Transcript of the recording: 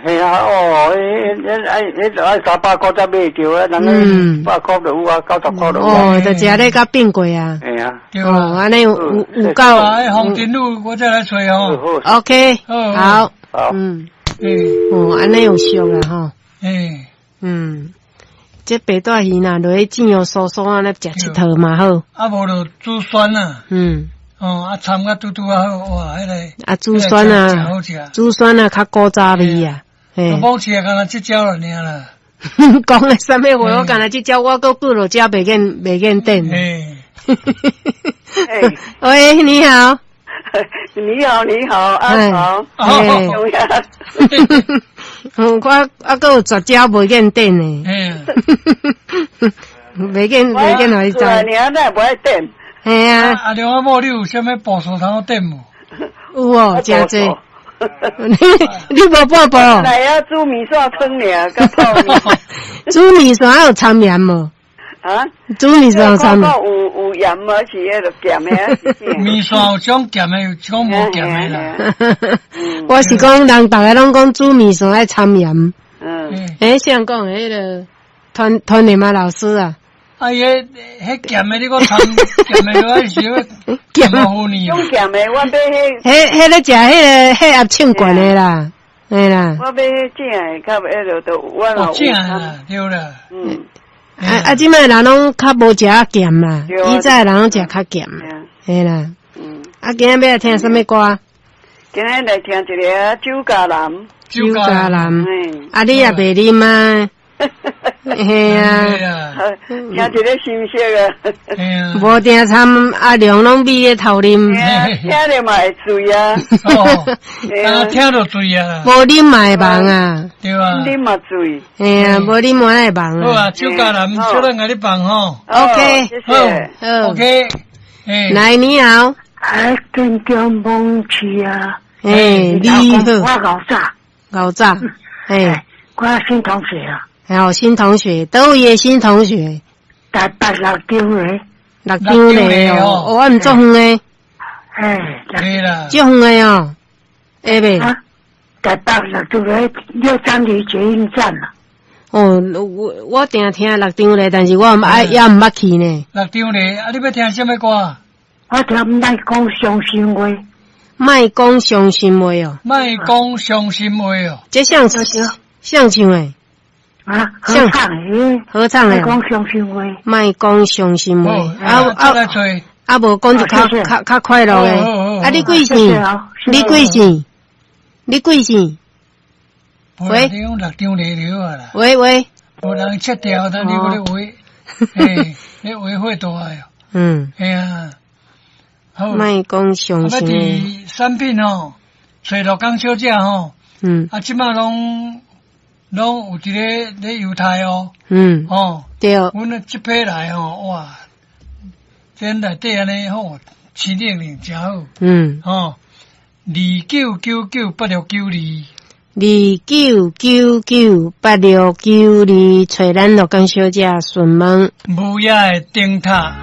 嘿啊，哦，彼彼愛彼愛300箍才買著啊，人100箍就有啊，90箍就有啊。哦，就食咧甲變過啊。嘿啊。哦，按呢有有夠。啊，黃金路我再來揣哦。 OK，好。好。嗯。哦，按呢有俗啦吼。嗯。這白帶魚若落去煎予酥酥按呢食一套嘛好。啊，無就煮酸啊。哦，啊，摻甲拄拄仔好，哇，彼個。啊，煮酸啊，煮酸啊，較古早味啊。嘿。我某市啊，干焦這招爾啦。講的啥物話？我干焦這招，我閣過落遮袂見袂見頂。喂，你好。你好，你好，阿曹。我啊，閣有絕招袂見頂呢。袂見袂見，予你知。爾，哪會無愛點？嘿啊。阿梁阿某，你有啥物步數通點無？有哦，誠濟。你無半步？來啊，煮麵線湯爾，佮泡麵。煮麵線有摻鹽無？啊？煮麵線有摻？有有鹽無？是彼个鹹的？麵線有種鹹的，有種無鹹的啦。我是講，人逐家攏講煮麵線愛摻鹽。欸，誰講的彼个團團聯嘛老師啊？啊，伊彼彼鹹的，你閣摻鹹的，我是鹹糊膩。種鹹的，我買彼。彼彼咧食彼个血壓秤懸的啦，嘿啦。我買彼正的，較彼个都我若有。正的對啦。啊啊！這擺人攏較無食鹹啦，以前人攏食較鹹，嘿啦。啊，今仔欲來聽啥物歌？今仔來聽一个酒家男。酒家男。啊，你也袂啉啊？嘿啊。聽一个心聲啊。無定參阿良攏咪咧偷啉。聽著嘛會醉啊。哦，啊，聽著醉啊。無啉嘛會茫啊。對啊。啉嘛醉。嘿啊，無啉嘛會茫啊。好啊，酒家男，小咱共你放吼。 OK。好。OK。來，你好。哎，鎮江夢去啊。欸，你好。我老早。老早。欸。我新同學啊。好，新同學，佗位的新同學？台北六張犁。六張犁哦，哦，毋足遠的。欸，對啦。足遠的哦，會袂？台北六張犁六張犁捷運站啊。哦，我我定聽六張犁，但是我毋愛，猶毋捌去呢。六張犁，啊，你欲聽啥物歌？我聽莫講傷心話。莫講傷心話哦。莫講傷心話哦。這誰誰唱的？啊，合唱的，合唱的。莫講傷心話。莫講傷心話。啊啊啊！無講就較較較快樂的。啊，你貴姓？你貴姓？你貴姓？喂。你講六張犁就好啦。喂喂。無人切掉，但你閣咧畫，欸，你畫火大哦。嘿啊。好。莫講傷心。啊，佇產品吼，揣鹿港小姐吼。啊，這擺攏攏有佇咧咧猶太哦。哦。對。阮這批來吼，哇！這內底按呢吼，青冷冷誠好。吼，29998692。29998692，揣咱鹿港小姐詢問。無影的燈塔。